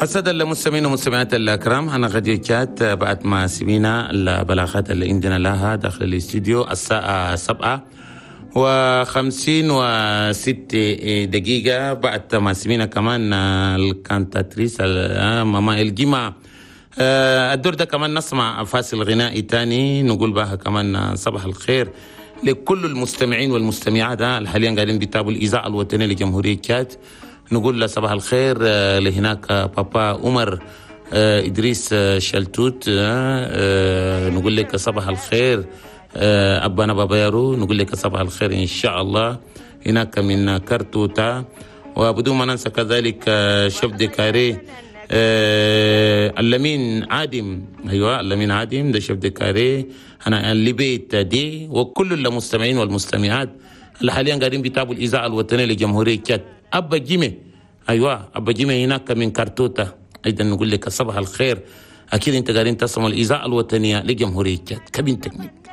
السادة المستمعين والمستمعات الأكرام، أنا غدير شات. بعد ما سمينا البلاغات اللي عندنا لها داخل الاستديو، الساعة 7:56. بعد ما سمينا كمان ال cantatrice ماما الجمعة، الدور ده كمان نسمع فاصل غنائي تاني، نقول بها كمان صباح الخير لكل المستمعين والمستمعات اللي حاليا قاعدين بيتابعوا الإذاعة الوطنية لجمهورية تشاد. نقول له صباح الخير لهناك بابا عمر إدريس شلتوت، نقول لك صباح الخير. أبانا بابا يارو، نقول لك صباح الخير إن شاء الله، هناك من كرتوتا. وبدون ما ننسى كذلك chef de carré اللمين عادم، ايوه اللمين عادم ده chef de carré انا اللي بيت دي، وكل المستمعين والمستمعات اللي حاليا قاعدين بيتابعوا الاذاعة الوطنية لجمهوريه تشاد. ابا جيمي، ايوه ابا جيمي هناك من كارتوتا، ايضا نقول لك صباح الخير. اكيد انت قاعدين تسمعوا الاذاعة الوطنية لجمهوريه تشاد. cabine technique.